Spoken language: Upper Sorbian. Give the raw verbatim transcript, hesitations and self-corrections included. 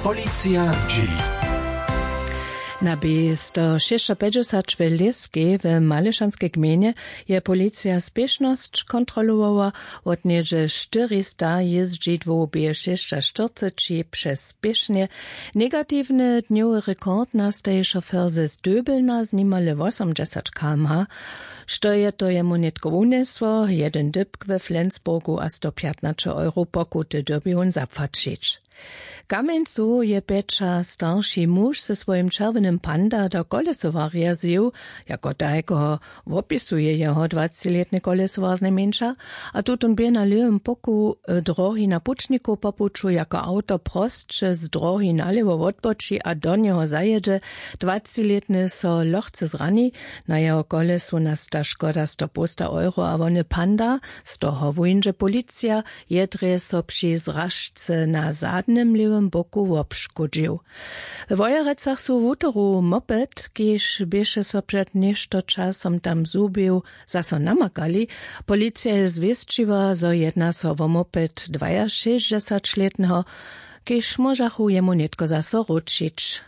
Policija zdźěli. Na bě sto šěsćapjećdźesać w Lěskej w Malyšanskej gmejnje je policija spěšnosć kontrolowała. Wot něhdźe štyrista jězdźidłow bě šěsćaštyrceći přez spěšnje. Negatiwny dnjowy rekord nastaji šofer ze Döbelna z nimale wosomdźesać km/h. Što je to jemu nětko wunjesło, jedyn dypk we Flensburgu a sto pjatnaće euro pokuty dyrbi wón zapłaćić. Kamjeńcu je pjeća starši muž ze swojim čerwjenym panda do kolesowarja zjěł, jako tajkeho wopisuje jeho dwacećilětny kolesowar znajmjeńša. A tutón bě na lěwym poku e, drohi na pućnikow po puću jako awto prosće z drohi nalěwo wotboči a do njeho zajědźe. Dwacećilětny so lochce zrani. Na jeho kolesu nasta škoda sto połsta euro a wony panda, z toho wóńdźe policija, je drje so při zražce na zadnym lěwym boku wobškódźił. We Wojerecach su wutoru moped, kiž běše so před něšto časom tam zhubił, zaso namakali. Policija je zwěsćiła, zo jedna so wo moped dwajašěsćdźesaćlětneho, kiž móžachu jemu nětko zaso wróćić.